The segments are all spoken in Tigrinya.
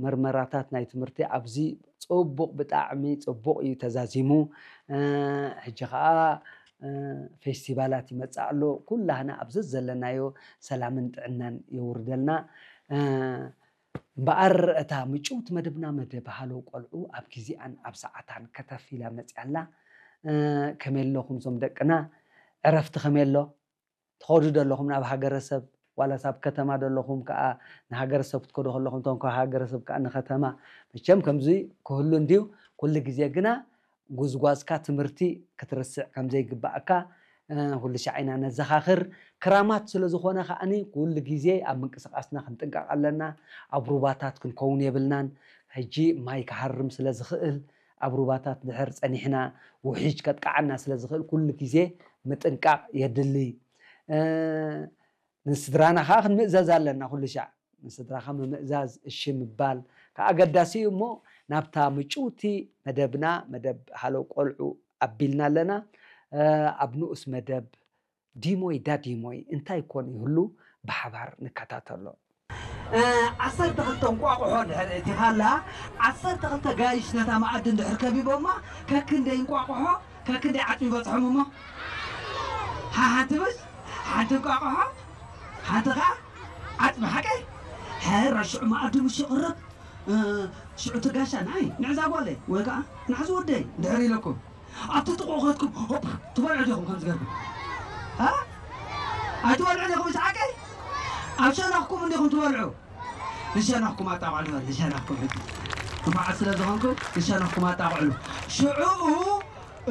መርመራታት ናይ ትምህርቲ ኣብዚ ጽቡቕ፣ ብጣዕሚ ጽቡቕ እዩ ተዛዚሙ። እ፣ ሕጂ ኸኣ፣ እ፣ ፌስቲቫላት ይመጽእ ኣሎ። ኩላህና ኣብ ዘዘለናዮ ሰላምን ጥዕናን የውርደልና። እ፣ እምበኣር እታ ምጭውቲ መደብና፣ መደብ ሃሎ ቆልዑ፣ ኣብ ግዜኣን ኣብ ሰዓታን ከተፍ ኢላ መጽያ ኣላ። እ፣ ከመይ ኣለኹም እዞም ደቅና? ዕረፍቲ ከመይ ኣሎ? ትኸዱ ዶ ኣለኹም ናብ ሃገረሰብ? ዋላስ ኣብ ከተማ ዶ ኣለኹም ከኣ ንሃገረሰብ ክትከዱ ከለኹም፣ እቶም ካብ ሃገረሰብ ከኣ ንከተማ? መቸም ከምዚ ክህሉ እንድዩ። ኩሉ ግዜ ግና ጉዝጓዝካ ትምህርቲ ክትርስዕ ከም ዘይግባእካ፣ እ፣ ኩሉ ሻዕ ኢና ነዘኻኽር። ክራማት ስለ ዝኾነ ከኣኒ ኩሉ ግዜ ኣብ ምንቅስቓስና ክንጥንቀቕ ኣለና። ኣብ ሩባታት ክንከውን የብልናን። ሕጂ ማይ ክሃርም ስለ ዝኽእል፣ ኣብ ሩባታት ድሕር ጸኒሕና ውሒጅ ከጥቅዓና ስለ ዝኽእል ኩሉ ግዜ ምጥንቃቕ የድሊ። እ፣ ንስድራና ከኣ ክንምእዘዝ ኣለና ኩሉ ሻዕ። ንስድራኻ ምምእዛዝ፣ እሺ ምባል ከኣ ኣገዳሲ እዩ። እሞ ናብታ ምጭውቲ መደብና፣ መደብ ሃሎ ቆልዑ ኣቢልና ኣለና። እ፣ ኣብ ንኡስ መደብ ዲሞይ ዳዲሞይ እንታይ ኮን ይህሉ ብሓባር ንከታተሎ። እ፣ ዓሰርተ ክልተ እንቋቑሖ እንድሕር እቲኻላ፣ ዓሰርተ ክልተ ጋይሽ ነታ መኣዲ እንድሕር ከቢቦማ፣ ከክንደይ እንቋቑሖ፣ ከክንደይ ዓጽሚ ይበጽሖም እሞ? ሓ-፣ ሓንቲ ብስ፣ ሓንቲ እንቋቑሖ፣ ሓንቲ ኸዓ ዓጽሚ፣ ሓቀይ? ሕረ፣ ሽዑ መኣዲ ምስ ይቕረብ፣ እ፣ ሽዑ እቲ ጋሻ ንዓይ፣ ንዕዛ ጓለይ፣ ወይ ከኣ ንዓዚ ወደይ እንድሕር ኢለኩም፣ ኣብቲ ጥቕኡ ከድኩም፣ ሆፕ፣ ትበልዑ ዲኹም ከምዚ ገርኩም? እ? ኣይትበልዑ ዲኹም እቲ ሓቀይ? ኣብ ሸነኽኩም እንዲኹም ትበልዑ። ንሸነኽኩም ኣጣቕዕሉ፣ ንሸነኽኩም ሕጂ። ንፉዓት ስለ ዝኾንኩም፣ ንሸነኽኩም ኣጣቕዕሉ። ሽዑ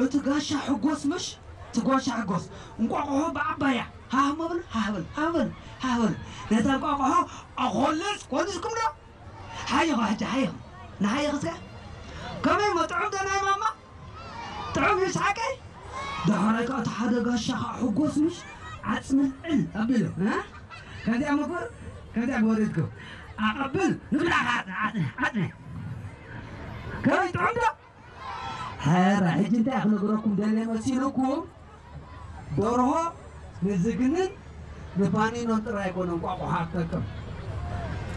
እቲ ጋሻ ሕጎስ ምሽ፣ እቲ ጋሻ ሕጎስ፣ እንቋቑሖ ብዓባያ፣ ሃህ መብል፣ ሃህ በል፣ ሃህ በል፣ ሃህ በል። ነታ እንቋቑሖ ኣኾልስ፣ ኮሊስኩም ዶ? ሓይኹ ሕጂ፣ ሓይኹ። ንሓይኽ እስከ። ከመይ እሞ ጥዑም ዶ ናይ ማማ? ጥዑም እዩ ሓቀይ? ዳሕራይ ከኣ እቲ ሓደ ጋሻ ከኣ ሕጎስ ምሽ ዓጽሚ ልዕል ኣቢሉ፣ እ? ከምዚኣ ምጉር፣ ከምዚኣ ግበሩ ኢልኩም። ኣቐብል፣ ንብላ ከኣ ዓጽሚ፣ ዓጽሚ፣ ዓጽሚ። ከመይ ጥዑም ዶ? ሕረ፣ ሕጂ እንታይ ክነግረኩም ደልየ መሲልኩም? ደርሆ ንዝግንን ንፋኒኖን ጥራይ ኣይኮነን እንቋቑሖ ኣትጠቅም።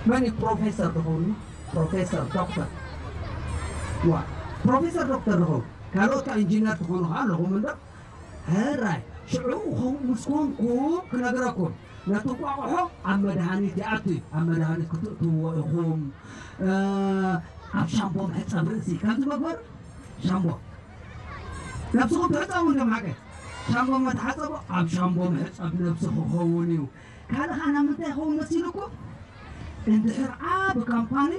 መን እዩ ፕሮፌሰር ድኸውን? ፕሮፌሰር፣ ዶክተር። ዋ፣ ፕሮፌሰር፣ ዶክተር ድኸውን? ካልኦት ከኣ ኢንጂነር ትኾኑ ከኣ ኣለኹም እንዶ? ሕራይ፣ ሽዑ ኹም-፣ ምስ ኮንኩም ክነግረኩም። ነቲ እንቋቑሖ ኣብ መድሃኒት ይኣቱ እዩ። ኣብ መድሃኒት ክትእትውዎ ኢኹም። እ፣ ኣብ ሻምቦ መሕጸቢ ርእሲ፣ ከምዚ መግበር ሻምቦ። ነብስኹም ትሕጸቡ እንዲኹም ሓቀ። ሻምቦ መተሓጸቦ ኣብ ሻምቦ መሕጸቢ ነብሲ ክኸውን እዩ። ካልእ ኸኣ ናብ ምንታይ ይኸውን መሲልኩም? እንድሕር ዓቢ ካምፓኒ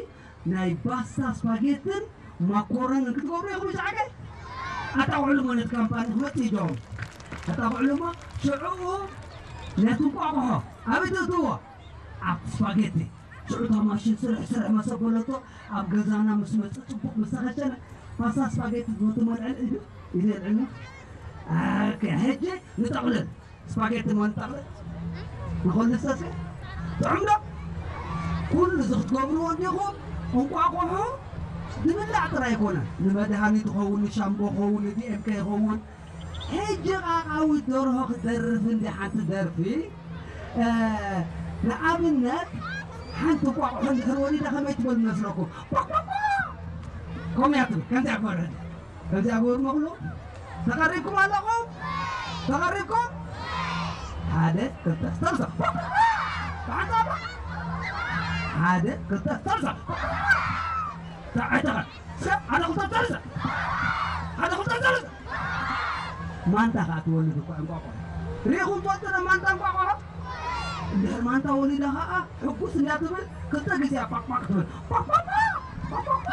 ናይ ባስታ፣ ስፓጌትን ማኮረንን ክትገብሩ ኢኹም፣ ሻቀ? ኣጣቕዕሉ እሞ ነቲ ካምፓኒ ክመጽእ ይጀምሩ። ኣጣቕዕሉ እሞ ሽዑ ነቲ እንቋቑሖ ኣበይ ተእትዎ? ኣብ ስፓጌቲ። ሽዑ እታ ማሽን ስርሕ ስርሕ መሰብ በለቶ፣ ኣብ ገዛና ምስ መጽእ ጽቡቕ ምስ ተኸሸነ፣ ፓስታ ስፓጌቲ ዝፈቱ መልዕል ኢሉ፣ ኢሉ የልዕልና። ኦኬ፣ ሕጂ ንጠቕልል። ስፓጌቲ እሞ ንጠቕልል። ንኸሉ ሰስከ? ጥዑም ዶ? ኩሉ እዚ ክትገብርዎ እንዲኹም፣ እንቋቑሖ ዝብላዕ ጥራይ ኣይኮነን። ንመድሃኒት ይኸውን፣ ንሻምቦ ይኸውን፣ ንዲ ኤም ከ ይኸውን። ሕጂ ቃቃዊት ደርሆ ክትደርፍ እንዲ ሓንቲ ደርፊ፣ እ፣ ንኣብነት ሓንቲ እንቋቑሖ እንድሕር ወሊዳ ከመይ ትበል መስለኩም? ቋቋቋ! ከምኡ እያ ትብል። ከምዚኣ ግበሩ ሕጂ። ከምዚኣ ግበሩ መብሉ። ተቐሪብኩም ኣለኹም? ተቐሪብኩም? ሓደ፣ ክልተ፣ ሰለስተ። ብሓንሳብ። ሓደ፣ ክልተ፣ ሰለስተ። ተዓተኻ። ሰብ ሓደ ክልተ ሰለስተ። ሓደ ክልተ ሰለስተ። ማንታ ኸኣ ትወልድ እኮ እንቋቑሖ። ርኢኹም ትፈልጡ ዶ ማንታ እንቋቑሖ? እንድሕር ማንታ ወሊዳ ኸኣ ሕጉስ እንዳ ትብል ክልተ ግዜ ቋቋቕ ትብል። ቋቋቋ! ቋቋቋ!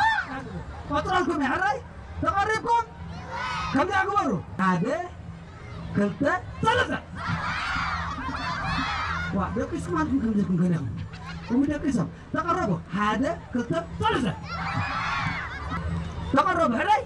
ቀጽረልኩም እየ፣ ሕራይ? ተቐሪብኩም? ከምዚኣ ግበሩ። ሓደ፣ ክልተ፣ ሰለስተ። ዋ፣ ደቂስኩም ኣልኩም ከምዚ ኢልኩም ገለ ኢኹም። እሙ ደቂሶም። ተቐረቡ። ሓደ፣ ክልተ፣ ሰለስተ። ተቐረቡ። ሕራይ?